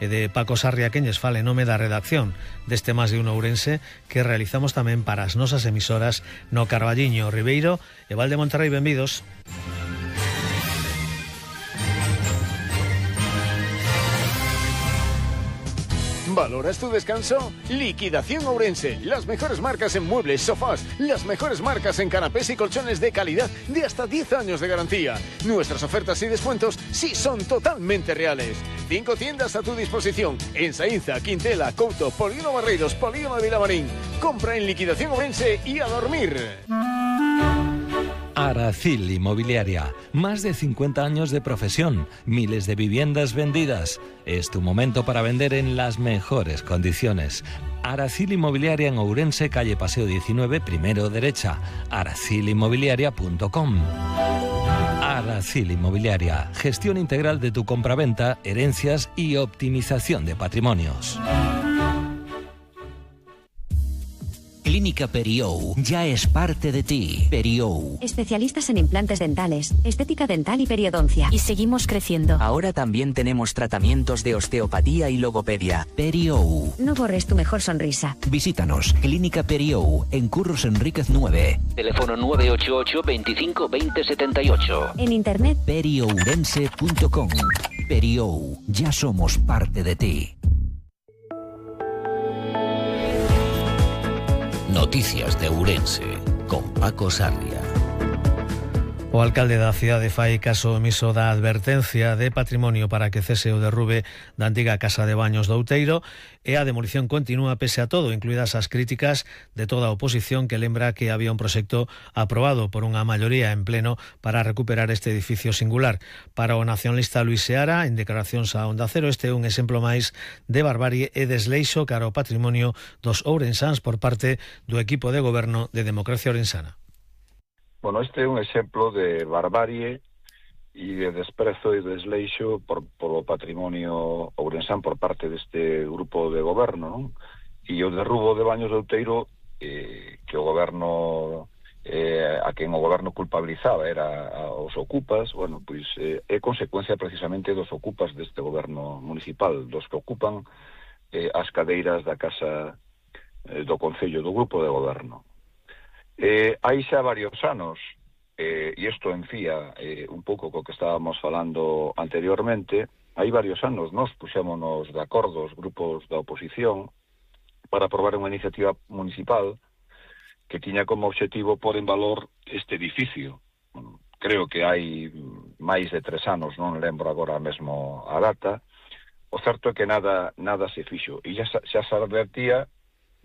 e de Paco Sarria queñes fale nome da redacción deste Más de Uno Ourense que realizamos tamén para as nosas emisoras no Carballiño, Ribeiro e Val de Monterrey. Benvidos. ¿Valoras tu descanso? Liquidación Ourense. Las mejores marcas en muebles, sofás, las mejores marcas en canapés y colchones de calidad de hasta 10 años de garantía. Nuestras ofertas y descuentos sí son totalmente reales. 5 tiendas a tu disposición en Saínza, Quintela, Couto, Polígono Barreiros, Polígono de Vilamarín. Compra en Liquidación Ourense y a dormir. Aracil Inmobiliaria, más de 50 años de profesión, miles de viviendas vendidas. Es tu momento para vender en las mejores condiciones. Aracil Inmobiliaria en Ourense, calle Paseo 19, primero derecha. aracilinmobiliaria.com. Aracil Inmobiliaria, gestión integral de tu compraventa, herencias y optimización de patrimonios. Clínica Periou ya es parte de ti. Periou. Especialistas en implantes dentales, estética dental y periodoncia. Y seguimos creciendo. Ahora también tenemos tratamientos de osteopatía y logopedia. Periou. No borres tu mejor sonrisa. Visítanos. Clínica Periou, en Curros Enríquez 9. Teléfono 988 25 20 78. En internet periourense.com. Periou. Ya somos parte de ti. Noticias de Ourense, con Paco Sarria. O alcalde da cidade fai caso omiso da advertencia de patrimonio para que cese o derrube da antiga casa de baños do Outeiro e a demolición continúa pese a todo, incluídas as críticas de toda a oposición que lembra que había un proxecto aprobado por unha maioría en pleno para recuperar este edificio singular. Para o nacionalista Luis Seara, en declaracións a Onda Cero, este é un exemplo máis de barbarie e desleixo cara ao patrimonio dos ourensáns por parte do equipo de goberno de Democracia Ourensana. Bueno, este é un exemplo de barbarie e de desprezo e desleixo polo patrimonio ourensán por parte deste grupo de goberno, non? E o derrubo de Baños de Outeiro, que o goberno, a quen o goberno culpabilizaba era aos ocupas, bueno, pois é consecuencia precisamente dos ocupas deste goberno municipal, dos que ocupan as cadeiras da casa do Concello, do grupo de goberno. Hai xa varios anos, e isto enfía un pouco co que estábamos falando anteriormente, hai varios anos nos puxémonos de acordo os grupos da oposición para aprobar unha iniciativa municipal que tiña como objetivo pôr en valor este edificio. Creo que hai máis de 3 anos, non lembro agora mesmo a data. O certo é que nada se fixo, e xa se advertía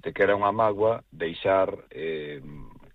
de que era unha mágoa deixar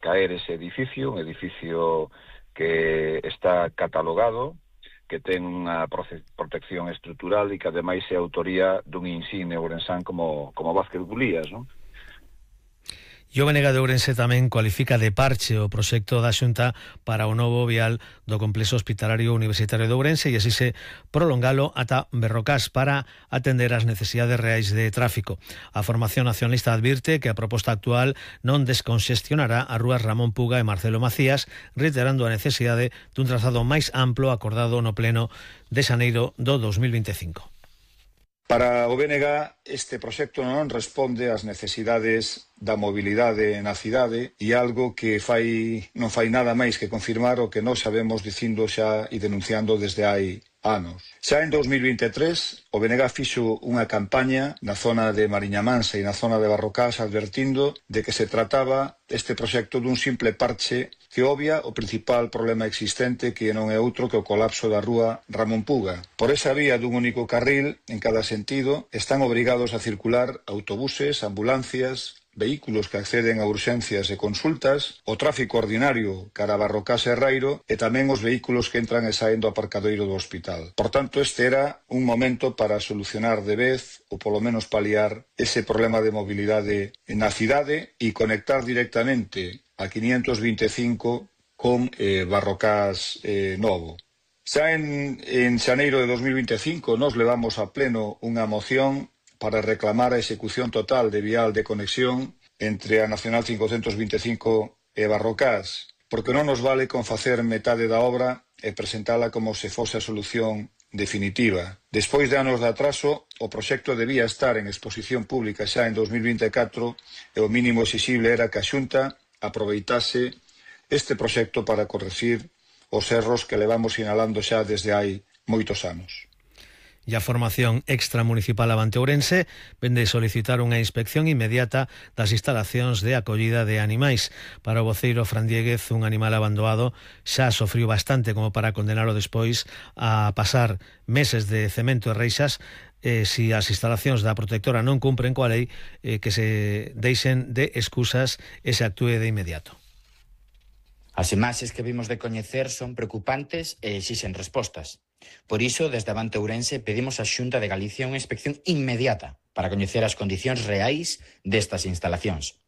caer ese edificio, un edificio que está catalogado, que ten unha protección estrutural e que ademais é autoría dun insigne ourensán como Vázquez Bulías, non? E o BNG de Ourense tamén cualifica de parche o proxecto da Xunta para o novo vial do complexo hospitalario universitario de Ourense e así se prolongalo ata Berrocás para atender as necesidades reais de tráfico. A formación nacionalista advirte que a proposta actual non desconxestionará as rúas Ramón Puga e Marcelo Macías, reiterando a necesidade dun trazado máis amplo acordado no pleno de xaneiro do 2025. Para o BNG, este proxecto non responde ás necesidades da mobilidade na cidade e algo que non fai nada máis que confirmar o que nós sabemos dicindo xa e denunciando desde hai anos. Xa en 2023, o BNG fixo unha campaña na zona de Mariña Mansa e na zona de Barrocás advertindo de que se trataba este proxecto dun simple parche que obvia o principal problema existente, que non é outro que o colapso da rúa Ramón Puga. Por esa vía dun único carril, en cada sentido, están obrigados a circular autobuses, ambulancias, vehículos que acceden a urxencias e consultas, o tráfico ordinario cara a Barrocás e Rairo e tamén os vehículos que entran e saen do aparcadoiro do hospital. Por tanto, este era un momento para solucionar de vez, ou polo menos paliar, ese problema de mobilidade na cidade e conectar directamente a 525 con Barrocás Novo. Xa en xaneiro de 2025 nos levamos a pleno unha moción para reclamar a execución total de vial de conexión entre a Nacional 525 e Barrocás, porque non nos vale con facer metade da obra e presentala como se fose a solución definitiva. Despois de anos de atraso, o proxecto debía estar en exposición pública xa en 2024 e o mínimo exixible era que a Xunta aproveitase este proxecto para corregir os erros que levamos sinalando xa desde hai moitos anos. E a formación extramunicipal Avante Ourense vende solicitar unha inspección inmediata das instalacións de acollida de animais. Para o voceiro Fran Dieguez, un animal abandonado xa sofriu bastante como para condenalo despois a pasar meses de cemento e reixas si as instalacións da protectora non cumpren coa lei, que se deixen de excusas e se actúe de inmediato. As imaxes que vimos de coñecer son preocupantes e exixen respostas. Por iso, desde Avante Ourense, pedimos á Xunta de Galicia unha inspección inmediata para coñecer as condicións reais destas instalacións.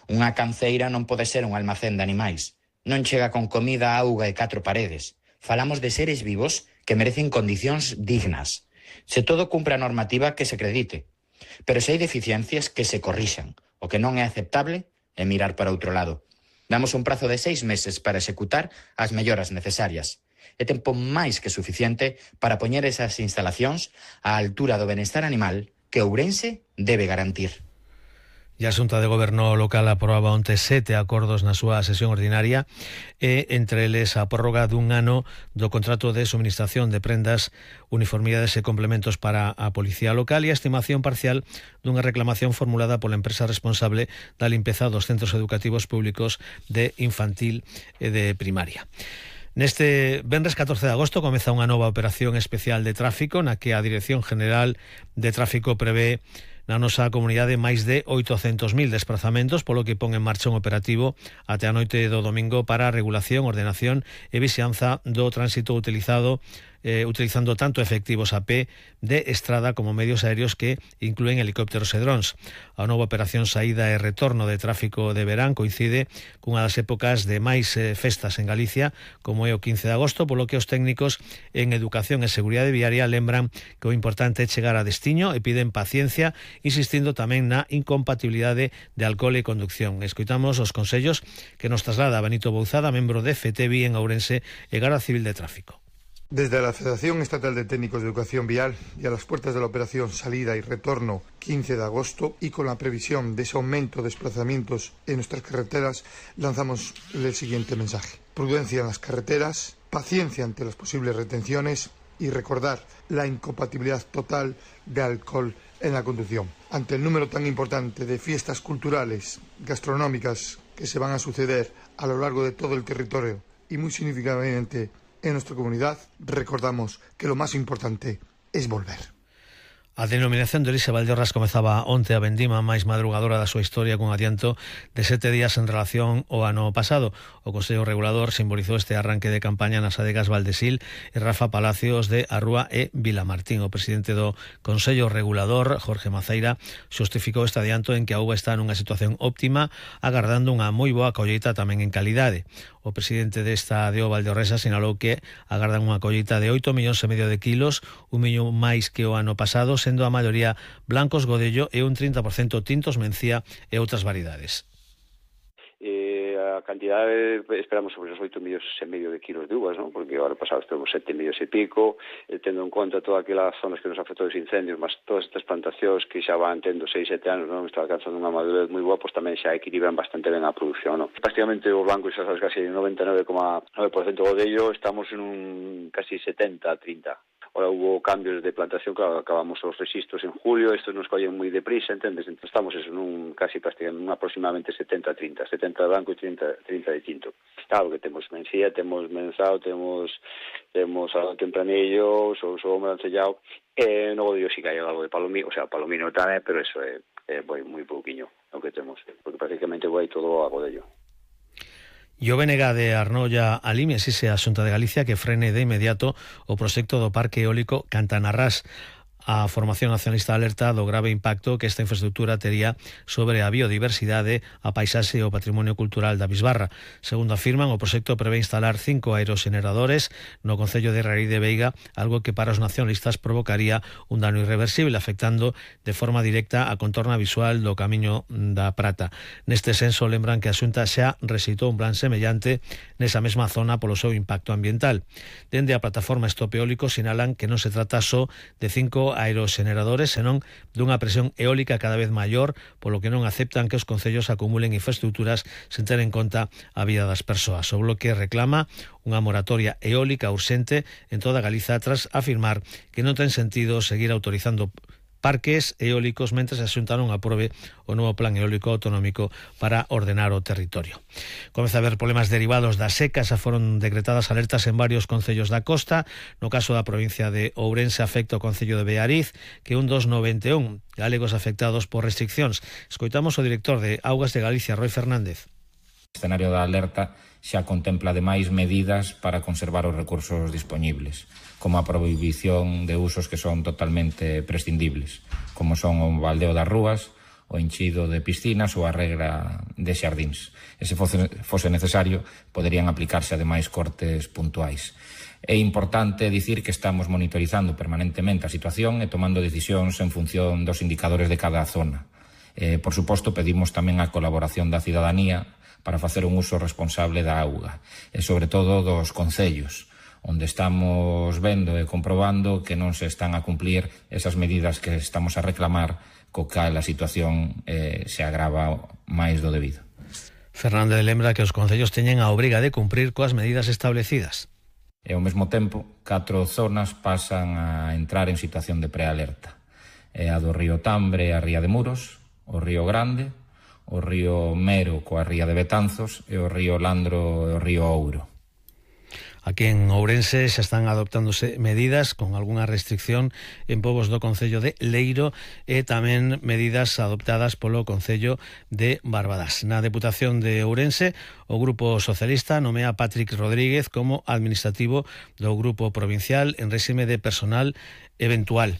Unha canceira non pode ser un almacén de animais. Non chega con comida, auga e 4 paredes. Falamos de seres vivos que merecen condicións dignas. Se todo cumpre a normativa, que se acredite. Pero se hai deficiencias, que se corrixan. O que non é aceptable é mirar para outro lado. Damos un prazo de 6 meses para executar as melloras necesarias. É tempo máis que suficiente para poñer esas instalacións á altura do benestar animal que Ourense debe garantir. E a Xunta de Goberno local aprobaba onte 7 acordos na súa sesión ordinaria e entre eles a prórroga dun ano do contrato de suministración de prendas, uniformidades e complementos para a Policía Local e a estimación parcial dunha reclamación formulada pola empresa responsable da limpeza dos centros educativos públicos de infantil e de primaria. Neste venres 14 de agosto comeza unha nova operación especial de tráfico na que a Dirección General de Tráfico prevé na nosa comunidade máis de 800.000 desplazamentos, polo que pon en marcha un operativo até a noite do domingo para a regulación, ordenación e vixianza do tránsito utilizando tanto efectivos a pé de estrada como medios aéreos que inclúen helicópteros e drons. A nova operación saída e retorno de tráfico de verán coincide cunha das épocas de máis festas en Galicia, como é o 15 de agosto, polo que os técnicos en Educación e Seguridade Viaria lembran que o importante é chegar a destiño e piden paciencia, insistindo tamén na incompatibilidade de alcohol e conducción. Escoitamos os consellos que nos traslada Benito Bouzada, membro de FETEVI en Ourense e Garda Civil de Tráfico. Desde la Federación Estatal de Técnicos de Educación Vial y a las puertas de la operación salida y retorno 15 de agosto y con la previsión de ese aumento de desplazamientos en nuestras carreteras, lanzamos el siguiente mensaje. Prudencia en las carreteras, paciencia ante las posibles retenciones y recordar la incompatibilidad total de alcohol en la conducción. Ante el número tan importante de fiestas culturales, gastronómicas que se van a suceder a lo largo de todo el territorio y muy significativamente en nuestra comunidad, recordamos que lo más importante es volver. A denominación de orixe Valdeorras comezaba onte a vendima máis madrugadora da súa historia cun adianto de 7 días en relación ao ano pasado. O Consello Regulador simbolizou este arranque de campaña nas adegas Valdesil e Rafa Palacios de Arrúa e Vilamartín. O presidente do Consello Regulador, Jorge Maceira, xustificou este adianto en que a uva está nunha situación óptima, agardando unha moi boa colleita tamén en calidade. O presidente desta DO Valdeorresa sinalou que agardan unha colleita de 8,5 millóns de kilos, 1 millón máis que o ano pasado, sendo a maioría blancos Godello e un 30% tintos Mencía e outras variedades. A cantidade esperamos sobre os 8,5 millóns de kilos de uvas, ¿no? Porque agora pasado temos 7 millóns e pico, tendo en conta todas aquelas zonas que nos afectou os incendios, mas todas estas plantacións que xa van tendo 6-7 anos, non está alcanzando unha madurez moi boa, pois tamén xa equilibran bastante ben a produción, ¿no? Prácticamente os blancos xa sabes casi 99,9% Godello, estamos en un casi 70-30. Ahora hubo cambios de plantación, claro, acabamos os registros en julio, estos nos collen moi deprisa, entendes? Entonces estamos en un casi prácticamente aproximadamente 70-30, 70 de blanco e 30 de tinto. Claro que temos Mencía, temos Menzao, temos algo de Tempranillo, o Brancellao, no Godello sí que hai algo de Palomino, o sea, Palomino tamén, pero eso é moi pouquiño o que temos, porque prácticamente vai todo a Godello. E o BNG de Arnoia Alime exige a Xunta de Galicia que frene de inmediato o proxecto do Parque Eólico Cantanarrás. a formación nacionalista alerta do grave impacto que esta infraestructura tería sobre a biodiversidade, a paisaxe e o patrimonio cultural da Bisbarra. Segundo afirman, o proxecto prevé instalar 5 aeroxeneradores no concello de Raíz de Veiga, algo que para os nacionalistas provocaría un dano irreversible, afectando de forma directa a contorna visual do Camiño da Prata. Neste senso, lembran que a Xunta xa rexeitou un plan semellante nesa mesma zona polo seu impacto ambiental. Dende a plataforma Stop Eólico sinalan que non se trata só de 5 aeroxeneradores, senón dunha presión eólica cada vez maior, polo que non aceptan que os concellos acumulen infraestructuras sen ter en conta a vida das persoas. O Bloque reclama unha moratoria eólica urxente en toda Galiza tras afirmar que non ten sentido seguir autorizando parques eólicos mentres a Xunta non aprobe o novo plan eólico autonómico para ordenar o territorio. Comeza a haber problemas derivados das secas, foron decretadas alertas en varios concellos da costa. No caso da provincia de Ourense afecta o concello de Beariz, que un dos 91 galegos afectados por restriccións. Escoitamos o director de Augas de Galicia, Roi Fernández. O escenario da alerta xa contempla ademais medidas para conservar os recursos dispoñibles, como a prohibición de usos que son totalmente prescindibles, como son o baldeo das rúas, o enchido de piscinas ou a regra de xardíns. E se fose necesario, poderían aplicarse ademais cortes puntuais. É importante dicir que estamos monitorizando permanentemente a situación e tomando decisións en función dos indicadores de cada zona. Por suposto, pedimos tamén a colaboración da cidadanía para facer un uso responsable da auga, e sobre todo dos concellos, onde estamos vendo e comprobando que non se están a cumplir esas medidas que estamos a reclamar, co cal a situación se agrava máis do debido. Fernández lembra que os concellos teñen a obriga de cumprir coas medidas establecidas. E ao mesmo tempo, 4 zonas pasan a entrar en situación de prealerta. A do río Tambre e a ría de Muros, o río Grande, o río Mero coa ría de Betanzos e o río Landro e o río Ouro. Aquí en Ourense xa están adoptándose medidas con algunha restricción en povos do concello de Leiro e tamén medidas adoptadas polo concello de Barbadas. Na Deputación de Ourense, o Grupo Socialista nomea a Patrick Rodríguez como administrativo do Grupo Provincial en réxime de personal eventual.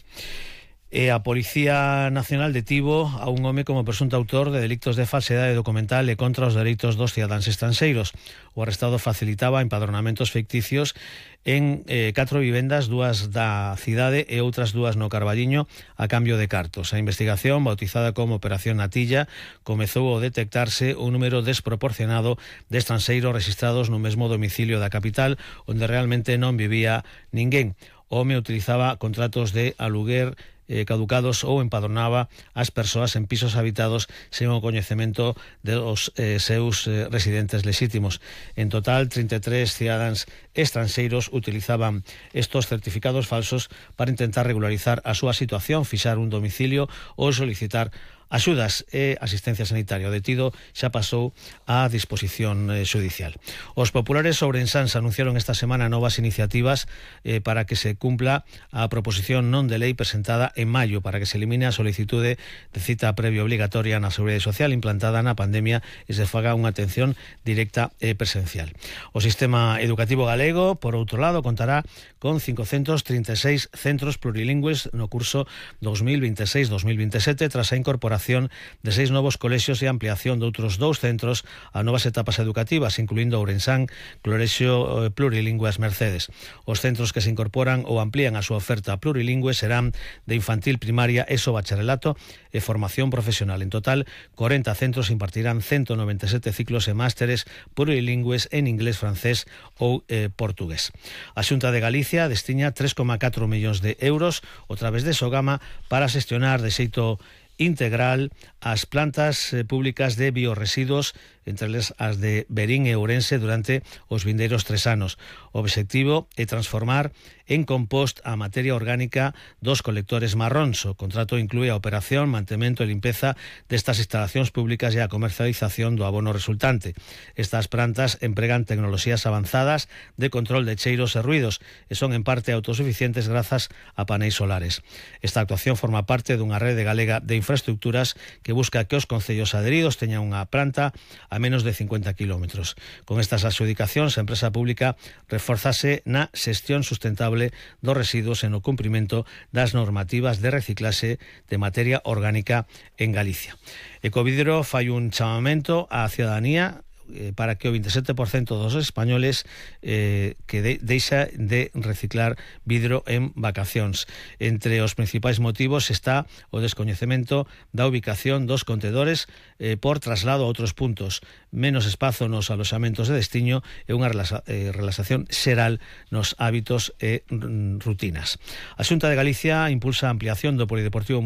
E a Policía Nacional detivo a un home como presunto autor de delictos de falsedade documental e contra os dereitos dos cidadáns estranxeiros. O arrestado facilitaba empadronamentos ficticios en 4 vivendas, 2 da cidade e outras 2 no Carballiño, a cambio de cartos. A investigación, bautizada como Operación Natilla, comezou a detectarse un número desproporcionado de estranxeiros registrados no mesmo domicilio da capital, onde realmente non vivía ninguén. O home utilizaba contratos de aluguer caducados ou empadronaba as persoas en pisos habitados sen o coñecemento dos seus residentes lexítimos. En total, 33 cidadáns estranxeiros utilizaban estos certificados falsos para intentar regularizar a súa situación, fixar un domicilio ou solicitar axudas e asistencia sanitaria. O detido xa pasou á disposición xudicial. Os populares ourensáns anunciaron esta semana novas iniciativas para que se cumpla a proposición non de lei presentada en maio para que se elimine a solicitude de cita previa obligatoria na Seguridade Social implantada na pandemia e se faga unha atención directa e presencial. O sistema educativo galego, por outro lado, contará con 536 centros plurilingües no curso 2026-2027 tras a incorporación de 6 novos colexios e ampliación de outros 2 centros a novas etapas educativas, incluindo Ourensán, Colexio Plurilingüe As Mercedes. Os centros que se incorporan ou amplían a súa oferta plurilingüe serán de infantil, primaria, ESO, bacharelato e formación profesional. En total, 40 centros impartirán 197 ciclos e másteres plurilingües en inglés, francés ou portugués. A Xunta de Galicia destina 3,4 millóns de euros a través de Sogama para xestionar de xeito integral as plantas públicas de biorresiduos, entre as de Berín e Ourense, durante os vindeiros 3 anos. O obxectivo é transformar en compost a materia orgánica dos colectores marróns. O contrato inclúe a operación, mantemento e limpeza destas instalacións públicas e a comercialización do abono resultante. Estas plantas empregan tecnoloxías avanzadas de control de cheiros e ruidos e son en parte autosuficientes grazas a paneis solares. Esta actuación forma parte dunha rede galega de Infraestructuras, que busca que os concellos adheridos teñan unha planta a menos de 50 kilómetros. Con estas adxudicacións, a empresa pública reforzase na xestión sustentable dos residuos e no cumprimento das normativas de reciclaxe de materia orgánica en Galicia. Ecovidro fai un chamamento á cidadanía para que o 27% dos españoles deixa de reciclar vidro en vacacións. Entre os principais motivos está o descoñecemento da ubicación dos contedores por traslado a outros puntos, menos espazo nos aloxamentos de destiño e unha relaxación xeral nos hábitos e rutinas. A Xunta de Galicia impulsa a ampliación do polideportivo municipal